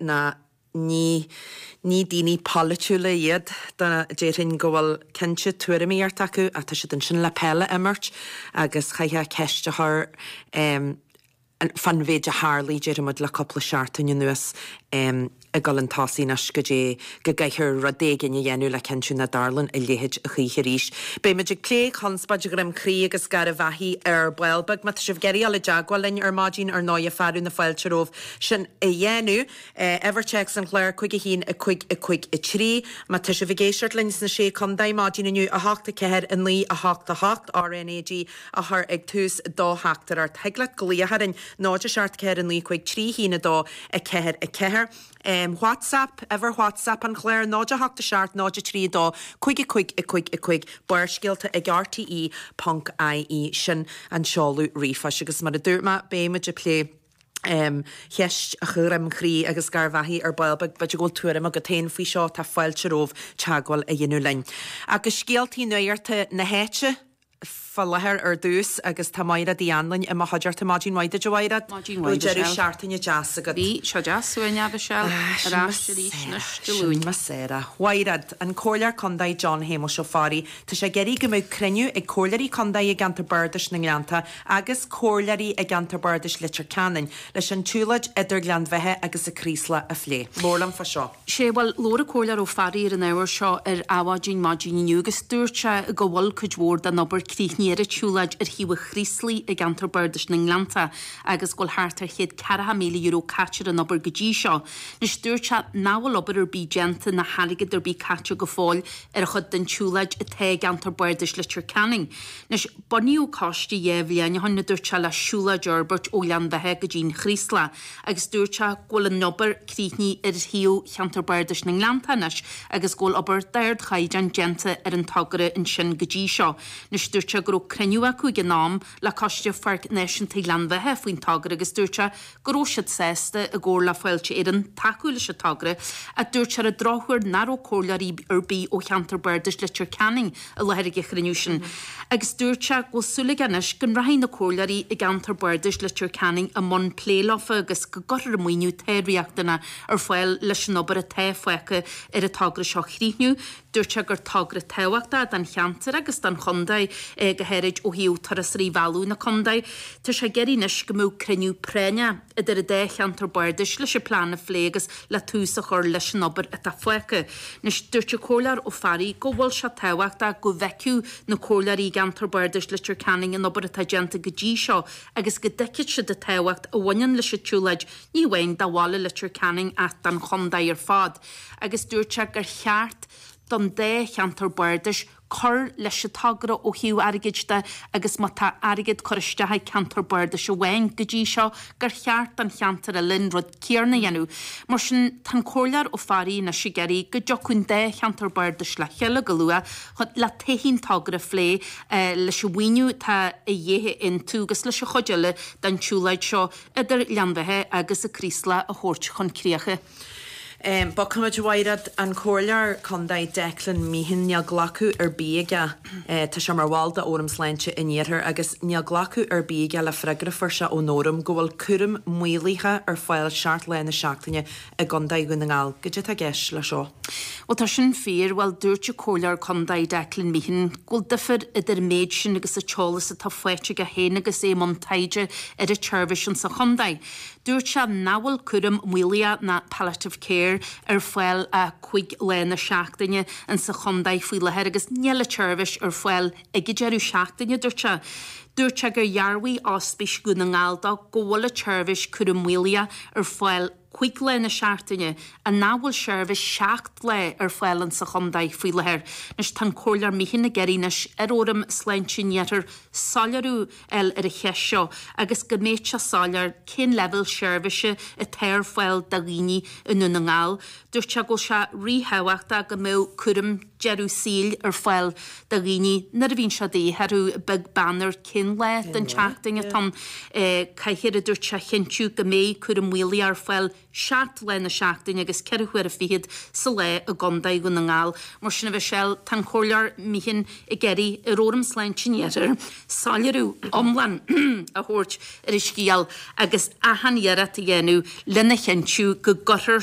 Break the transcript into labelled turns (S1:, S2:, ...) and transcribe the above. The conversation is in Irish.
S1: Ná ní ní daoine polaitiúla iad, déarfainn go bhfuil cinnte tuairimíocht acu ach tá siad ansin le peil a imirt agus chaithfeá ceist a chur fán mhéid a tharlaigh, déarfaidh muid, le cúpla seachtain anuas ag dul chun tosaigh anois go dtí go gcaithfear rud éigin a dhéanamh le cinntiú nach dtarlaíonn a leithéid a choíche arís. Beidh muid ag plé conspóid Dhroim Crí agus Garbh Achaidh ar ball beag. Má tá sibh ag iarraidh dul i dteagmháil linn ar maidin, ar ndóighe, fearadh na fáilte romhaibh sin a dhéanamh. Uimhir téacs an chláir, 5 1 5 5 3. Má tá sibh ag éisteacht linn sna Sé Contae maidin inniu, 8 4 9 8 8, RnaG a chur ag tús do theachtaireacht. Thig leat glaoch orainn, 0 7 4 9 5 3 1 2 4 4. WhatsApp, uimhir WhatsApp an chláir, 0 8 7 0 3 2 5 5 5 5, Barrscéalta ag rte ponc ie. Sin an seoladh ríomhphoist. Agus mar a dúirt mé, beidh muid ag plé cheist Dhroim Chrí agus Garbh Achaidh ar ball beag. B'fhéidir go bhfuil tuairim agat féin faoi seo, tá fáilte romhaibh teagmháil a dhéanamh linn. Agus scéaltaí nuachta na háite fá láthair ar dtús agus tá Maighread Uí Anluain i mo chuideachta. Maidin mhaith duit a Mhaighread.
S2: Maidin mhaith
S1: Deireadh Michelle. seachtaine deas agat.
S2: Bhí sé deas uainn a Mhichelle.
S1: Ah,
S2: Ar ais arís anois Dé Luain.
S1: Sin mar is A Mhaighread, an Comhairleoir Contae John Shéamuis Ó Fearraigh, tá sé ag iarraidh go mbeadh cruinniú ag Comhairleoirí Contae i gceantar Bardais na nGleannta agus Comhairleoirí i gceantar Bardais Leitir Ceanainn leis an tsiúlóid idir Gleann Bheatha agus an Chraoslach a phlé. Labhair liom fá seo.
S2: Sé, bhuel, labhair an Comhairleoir Ó Fearraigh ar an ábhar seo ar Adhmhaidin maidin inniu agus dúirt sé go bhfuil cuid mhór den obair críochnaithe ar an tsiúlóid ar thaobh an Chraoslaigh i gceantar Bardais na nGleannta agus go bhfuil thart ar €140,000 caite ar an obair go dtí seo. Anois, dúirt sé nach bhfuil obair ar bith déanta ná airgead ar bith caite go fóill ar an chuid den tsiúlóid atá i gceantar Bardais Leitir Ceanainn. Anois, bunaíodh coiste dhá bhliain ó shin, a dúirt sé, le siúlóid a fhorbairt ó Ghleann Bheatha go dtí an Chraoslach agus dúirt sé go bhfuil an obair críochnaithe ar thaobh cheantar Bardais na nGleannta anois agus go bhfuil obair d'ardchaighdeán déanta ar an togra ansin go dtí seo. Anois, dúirt sé go raibh cruinniú acu ag an am le Coiste Pháirc Náisiúnta Ghleann Bheatha faoin togra agus dúirt sé go raibh siad sásta, i gcomhar le Fáilte Éireann, tacú leis an togra ach dúirt sé ar an drochuair nach raibh comhairleoirí ar bith ó cheantar Bardais Leitir Ceanainn i láthair ag an chruinniú sin agus dúirt sé go bhfuil súil aige anois go nrachaidh na comhairleoirí i gceantar Bardais Leitir Ceanainn i mbun plé leofa agus go gcuirfear an maoiniú atá riachtanach ar fáil leis an obair atá fágtha ar an togra seo a chríochnú. Dúirt sé gur togra tábhachtach don cheantar agus don chontae é, go háirid ó thaobh turasóirí a mhealladh na contae. Tá sé ag iarraidh anois go mbeadh cruinniú práinneach idir an dá cheantar bardais leis an plean a phlé agus le tús a chur leis an obair atá fágtha. Anois, dúirt an Comhairleoir Ó Fearraigh go bhfuil sé tábhachtach go bhfeicfeadh na comhairleoirí i gceantar bardais Leitir Ceanainn an obair atá déanta go dtí seo agus go dtuigfidh siad an tábhacht a bhaineann leis an tsiúlóid, ní amháin do bhaile Leitir Ceanainn ach don chontae ar fad. agus dúirt sé gur cheart don dá cheantar bardais cur leis an togra ó thaobh airgid de agus má tá airgead curtha isteach ag ceantar bardais amháin go dtí seo gur cheart don cheantar eile an rud céanna a dhéanamh. Mar sin, tá an Comhairleoir Ó Fearraigh anois ag iarraidh go dtiocfadh an dá cheantar bardais le chéile go luath chun le taithí an togra a phlé leis an mhaoiniú atá a dhíth a aontú agus leis an chuid eile den tsiúlóid seo idir Gleann Bheatha agus an Craoslach a thabhairt chun críocha.
S1: Bogfaimid, a Mhaighread, an Comhairleoir Contae Declan Meehan, níl glacadh ar bith aige, tá sé mar bhall de Fhóram Sláinte an Iarthair agus níl glacadh ar bith aige le freagra a fuair sé ón Fhóram go bhfuil cúram maolaithe ar fáil 7 lá na seachtaine i gContae Dhún na nGall. Goidé atá i gceist le seo?
S2: Bhuel tá sin fíor. Bhuel dúirt an Comhairleoir Contae Declan Meehan go bhfuil difear idir an méid sin agus an t-eolas atá faighte aige féin agus é i mbun taighde ar an tseirbhís insa chontae. Dúirt sé nach bhfuil cúram maolaithe ná palliative care ar fáil ach 5 lá na seachtaine insa chontae faoi láthair agus níl an tseirbhís ar fáil ag an deireadh seachtaine, dúirt sé. Dúirt sé gur dhearbhaigh Ospís Dhún na nGall dó go bhfuil an tseirbhís cúram maolaithe ar fáil 5 lá na seachtaine ach nach bhfuil seirbhís 7 lá ar fáil insa chontae faoi láthair. Anois tá an Comhairleoir Meehan ag iarraidh anois ar Fhóram Sláinte an Iarthair soiléiriú fháil ar an cheist seo agus go mbeadh sé soiléir cén leibhéal seirbhíse atá ar fáil do dhaoine i nDún na nGall. Dúirt sé go bhfuil sé ríthábhachtach go mbeadh cúram deireadh saoil ar fáil do dhaoine nuair a bhíonn sé de dhíth orthu, beag beann ar cén lá den tseachtain atá ann. Caithfear, a dúirt sé, a chinntiú go mbeidh cúram maolaithe ar fáil. 7 lá na seachtaine agus 4 huaire fichead sa lá i gContae Dhún na nGall. Mar sin a Mhichelle, tá an Comhairleoir Meehan ag iarraidh ar Fhóram Sláinte an Iarthair soiléiriú iomlán a thabhairt ar an scéal agus achan iarracht a dhéanamh lena chinntiú go gcuirfear.